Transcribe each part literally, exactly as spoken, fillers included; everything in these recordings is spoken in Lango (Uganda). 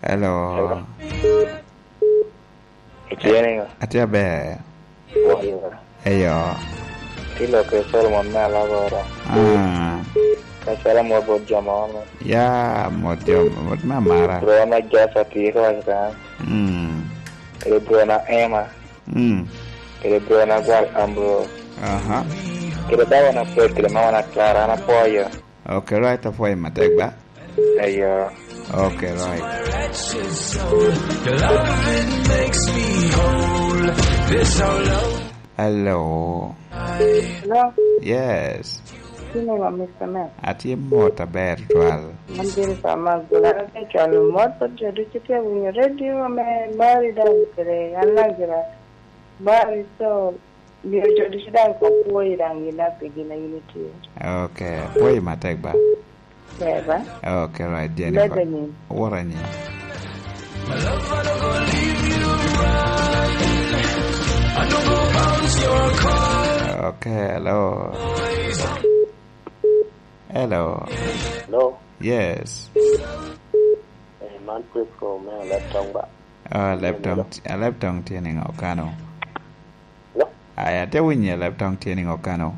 Hello. Hello. Itye niŋo? Atye aber. Wai wa. Eyo. Tye lok i Solomon me Alagoro. Ah. Ka calo mot bot jo mono. Ya, mot jo, mot me amara. Bro me Jasa tye ka waco kan. Mm. Kede bro na Emma. Mm. Kede bro na Gwal Ambrose. Aha. Kede bawa na Fred, kede mama na Clara, an apwoyo. Ok, right, apwoyo matek ba? Eyo. Ok, right. Hello. Hello. Yes. Iniŋo, Mister Man? Atye mot aber twal. An Jennifer Magula, atye cwalo mot bot jo ducu tye winyo redio me Bari daŋ kede an Lazarus. Bari, so, myero jo ducu daŋ kop pwoyi daŋ gin a pi gin a in itye. Ok, apwoyi matek ba? Ber ba? Ok, right, Jennifer. Lebe ni. Wora ni. Ok, hello. Hello. Hello. Yes. Eh, man Prisco me Alaptong ba? Ah, Alaptong, Alaptong tye niŋo kano? Hello? Ai, ate winyi Alaptong tye niŋo kano?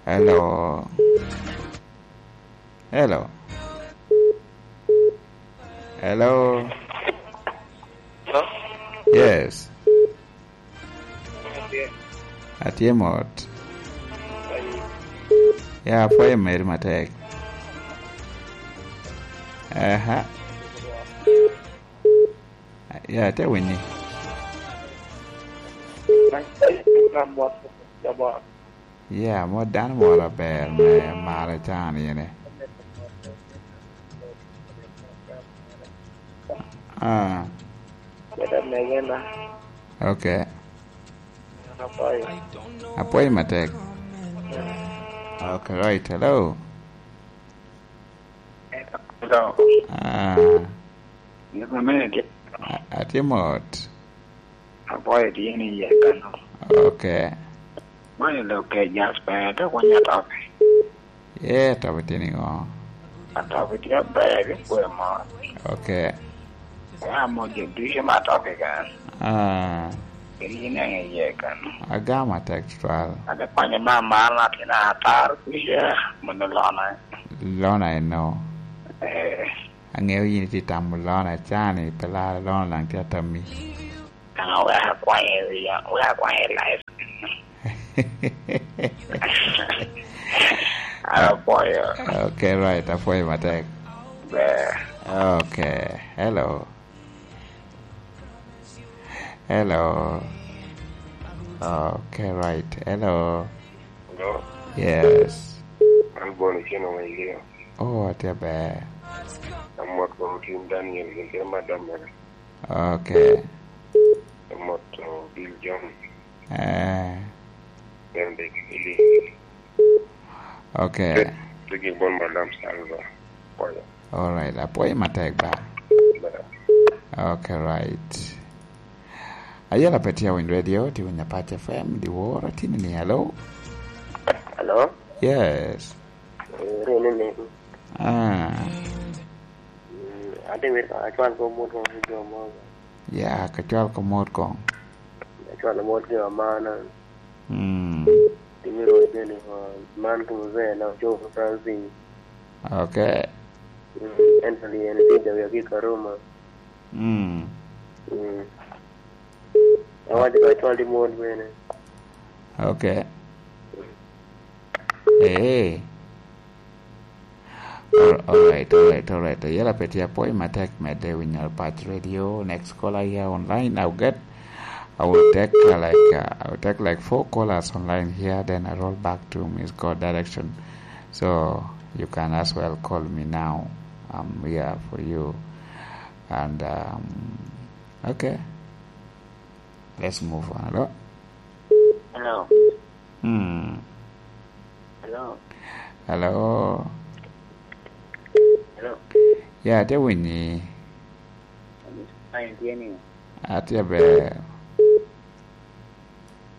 Hello. Hello. Hello. Hello? Yes. Atye. Atye mot. Ya, apwoyo meri matek. Aha. Ya, atye winyi. Ya, mot dano moro aber me maro can ene. Ah. Kede megena. Ok. An apwoyo. Apwoyo matek. Ok, right. Hello. Hello. Ah. Yes, mama, atye. A-, atye mot. Apwoyo tye ni iye kano. Ok. Mano lok ke Jasper, te konya topi. Ye, topi tye niŋo? Atopi tye aber, rik kwe mot. Ok. Ea mo jo ducu ma atopi kan. Ah. Kede yin en iye kan. Agamo atek tutwal. Ate konyo ma mar na tina atar kuca, mono lona. Lona eno. Eh. Aŋeo yin itye tamo lona cani, pe lar lona daŋ tye atammi. Ah, wek akwany i wi, wek akwany i live. Apwoyo. Ok, right, apwoyo matek. Ber. Ok, hello. Hello. Ok, right, hello. Hello. Yes. An Bon Otieno wa Ilio. Oh, atye ber. Amot kono Tim Daniel, gin kede madam mere. Ok. Amot, uh, Bill John. Eh. Bende Billy. Ok. Te, te gin bon Madam Salva. Apwoyo. All right. Apwoyo matek ba. Ber. Ok, right. Ayela pe tye awiny radio, tye winyo Apac F M, dyewor atini ni, hello? Hello? Yes. Eh, rin ni. Ah. Mm, ate wit ka acwal ko mot kong ki jo mo. Ya, ka cwal ko mot kong. Acwal mot ki amana. Mm. Timi ro bene, uh, man ki muzee na Joe Francis. Ok. Mm, Anthony en tye jawi aki Karuma. Mm. Mm. Awaco ka cwal di mot bene. Ok. Eh. All, all right, all right, all right. Yala pe tye apwoyo matek medde winyo Apac Radio. Next caller here online, I'll get, I will take, uh, like, uh, I will take, like, four callers online here, then I roll back to Miss God direction. So you can as well call me now. I'm here for you. And, um, okay. Let's move on. Hello? Hello. Hmm. Hello. Hello. Hello. Ya, atye winyi. Fine, tye ni. Atye ber.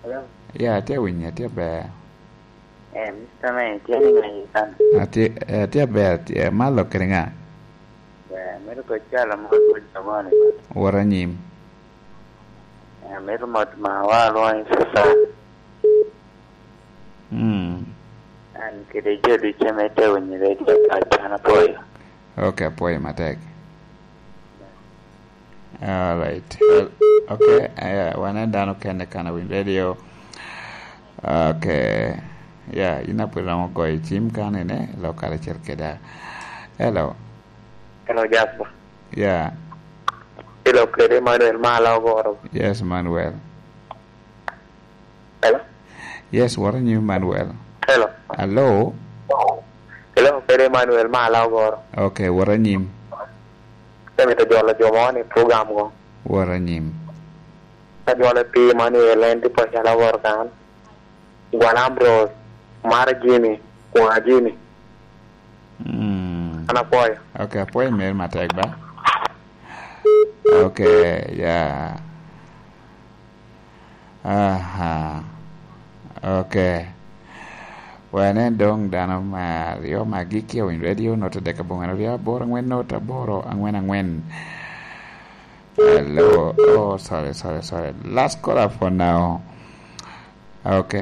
Hello. Ya, atye winyi, atye ber. Eh, Mister Man, itye niŋ aye kan? Atye, eh, atye aber, atye, malo kede ŋa? Ber, mito ko calo mo, ko jogoni. Wot anyim. Eh, mito mot ma wa alwongo ni Susan. Mm. An kede jo ducu ame te winyo redio paco, an apwoyo. Ok, apwoyo matek. Alright. Well, ok, eh, wan en dano kene kan awiny redio. Ok. Ya, in apwod romo goyo cim kan ene, lok karacel keda. Hello. Hello, Jasper. Ya. Hello, kede Emmanuel, ma ala ogoro. Yes, Emmanuel. Hello? Yes, wot anyim, Emmanuel. Hello? Hello? Hello, kede Emmanuel, ma ala ogoro. Ok, wot anyim. Amito jolo jo mo ni program go. Wot anyim. Ka jolo pi Emmanuel, en tipo calo ogoro kan. Gwan Ambrose, Mara Jimmy, Kwa Jimmy. Mm. An apwoyo. Ok, apwoyo meri matek ba. Ok, ya. Aha. Ok. Wene doŋ dano me aryo ma agikki owinyo redio, note dek aboŋo aryo aboro aŋwen, note aboro aŋwen aŋwen. Hello. Oh, sorry, sorry, sorry. Last caller for now. Ok.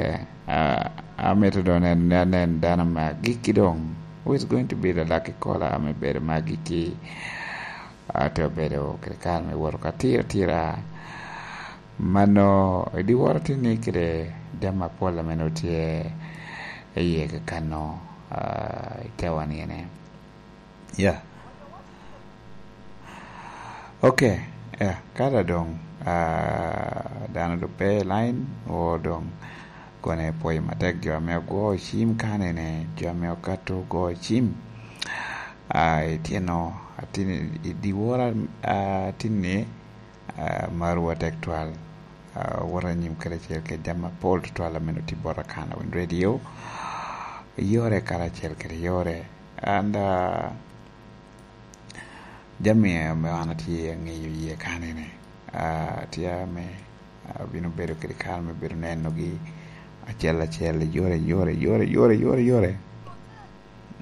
Ah, amito doŋ nen, nen, nen dano me agikki doŋ. Who is going to be the lucky caller ame bedo me agikki? Ah, te obedo kede kare me woto ka tiro tira. Mano, i dyewor atye ni kede jami apol ame nongo tye i yie kakano, ah, i tewa ni ene. Ya. Ok, ya, ka da doŋ, ah, dano doŋ pe i line, o doŋ kone pwoyo matek jo ame ogwo cim kanene, jo ame okato ogwo cim. Ah, ityeno, atin-, i dyewor, ah, atin-ni, ah, marwa tek twal. Ah, wot anyim karacel kede jami apol tutwal ame nongo tye bota kan awiny redio, yore karacel kede yore. And, ah, jami ame an atye aŋeyo iye kanene, ah, tye ame abino bedo kede kare me bedo nenogi acel acel, yore, yore, yore, yore, yore, yore.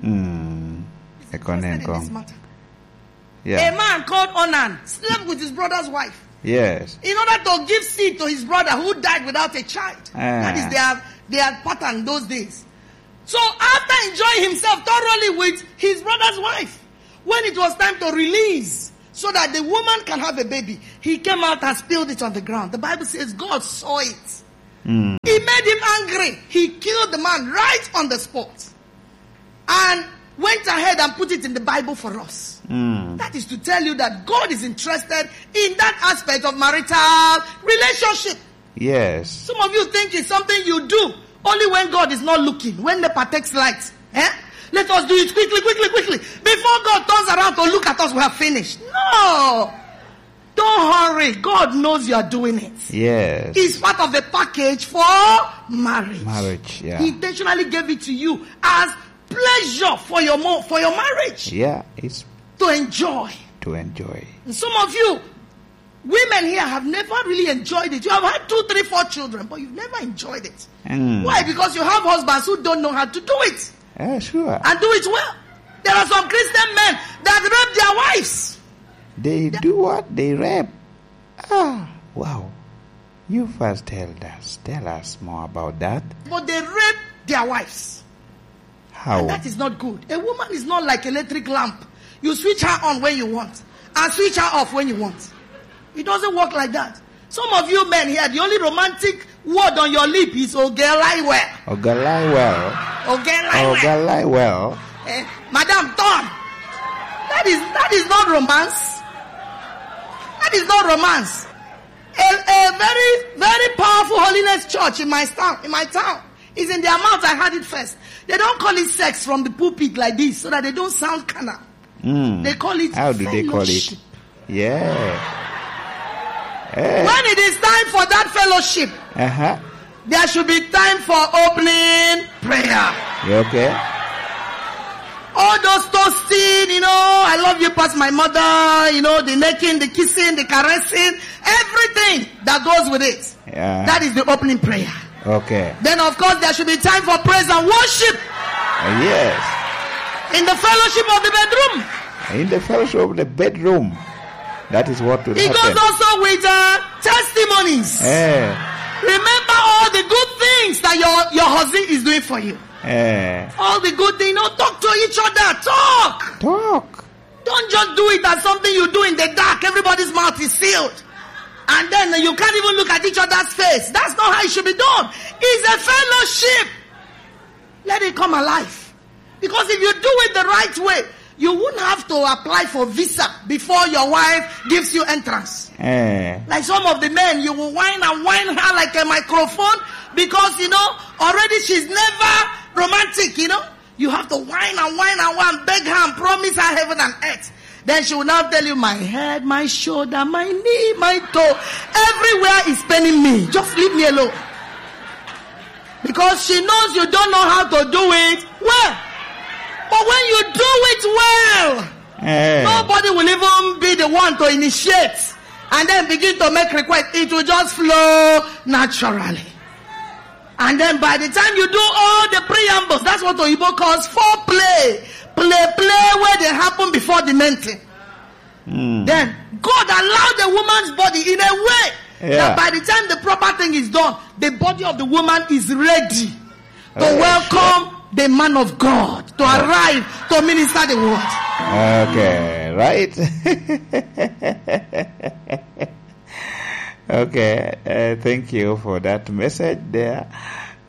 Mm, eko nen koŋ. Yeah. A man called Onan slept with his brother's wife. Yes. In order to give seed to his brother who died without a child. Ah. That is their, their pattern those days. So after enjoying himself thoroughly with his brother's wife, when it was time to release so that the woman can have a baby, he came out and spilled it on the ground. The Bible says God saw it. Mm. He made him angry. He killed the man right on the spot and went ahead and put it in the Bible for us. Mm. That is to tell you that God is interested in that aspect of marital relationship. Yes. Some of you think it's something you do only when God is not looking, when NEPA takes light. Eh? Let us do it quickly, quickly, quickly. Before God turns around to look at us, we have finished. No! Don't hurry. God knows you are doing it. Yes. It's part of the package for marriage. Marriage, yeah. He intentionally gave it to you as pleasure for your mo-, for your marriage. Yeah, it's to enjoy. To enjoy. And some of you, women here have never really enjoyed it. You have had two, three, four children, but you've never enjoyed it. Mm. Why? Because you have husbands who don't know how to do it. Yeah, sure. And do it well. There are some Christian men that rape their wives. They do what? They rape. Ah, wow. You first tell us, tell us more about that. But they rape their wives. How? And that is not good. A woman is not like electric lamp. You switch her on when you want and switch her off when you want. It doesn't work like that. Some of you men here, the only romantic word on your lip is "Ogelai well." Ogelai well. Ogelai well. Ogelai well. Eh, madam, turn. That is, that is not romance. That is not romance. A, a very, very powerful holiness church in my town, in my town. Is in their mouth. I heard it first. They don't call it sex from the pulpit like this so that they don't sound carnal. Mm. They call it fellowship. How do they call it? Yeah. Eh. When it is time for that fellowship, uh-huh, there should be time for opening prayer. You okay? All those toasting, you know, "I love you past my mother," you know, the necking, the kissing, the caressing, everything that goes with it. Yeah. That is the opening prayer. Okay. Then, of course, there should be time for praise and worship. Uh, yes. In the fellowship of the bedroom. In the fellowship of the bedroom. That is what will It happen. Goes also with, uh, testimonies. Eh. Remember all the good things that your, your husband is doing for you. Eh. All the good things. You know, talk to each other. Talk. Talk. Don't just do it as something you do in the dark. Everybody's mouth is sealed. And then you can't even look at each other's face. That's not how it should be done. It's a fellowship. Let it come alive. Because if you do it the right way, you won't have to apply for visa before your wife gives you entrance. Eh. Like some of the men, you will whine and whine her like a microphone because, you know, already she's never romantic, you know. You have to whine and whine and whine, beg her and promise her heaven and earth. Then she will now tell you, "My head, my shoulder, my knee, my toe, everywhere is paining me. Just leave me alone." Because she knows you don't know how to do it well. But when you do it well, eh, nobody will even be the one to initiate and then begin to make request. It will just flow naturally. And then by the time you do all the preambles, that's what Oyibo calls foreplay. Play, play where they happen before the main thing. Mm. Then God allowed the woman's body in a way, yeah, that by the time the proper thing is done, the body of the woman is ready to, oh, welcome the man of God to, oh, arrive to minister the word. Okay, right. Okay, uh, thank you for that message there.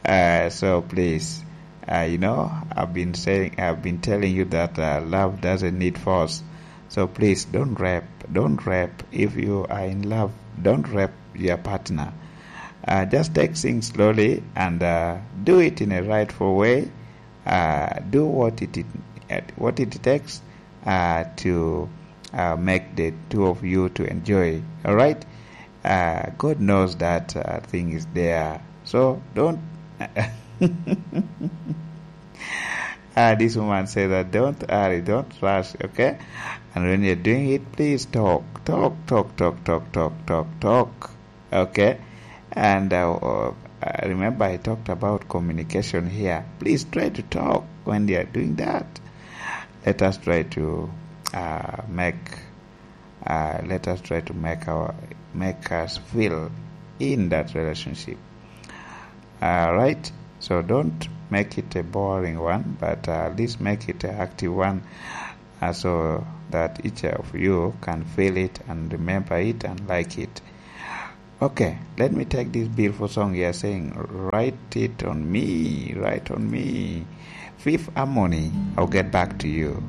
Uh, so please, uh, you know, I've been saying, I've been telling you that, uh, love doesn't need force. So please, don't rape, don't rape. If you are in love, don't rape your partner. Uh, just take things slowly and, uh, do it in a rightful way. Uh, do what it, it, what it takes, uh, to, uh, make the two of you to enjoy. All right? Uh, God knows that, uh, thing is there. So don't. Uh, this woman said that don't hurry, don't rush, okay? And when you're doing it, please talk, talk, talk, talk, talk, talk, talk, talk, okay? And, uh, uh, remember, I talked about communication here. Please try to talk when they are doing that. Let us try to, uh, make, uh, let us try to make our, make us feel in that relationship. All right. So don't make it a boring one, but, uh, at least make it an active one, uh, so that each of you can feel it and remember it and like it. Okay, let me take this beautiful song here saying, "Write it on me, write on me." Fifth Harmony, I'll get back to you.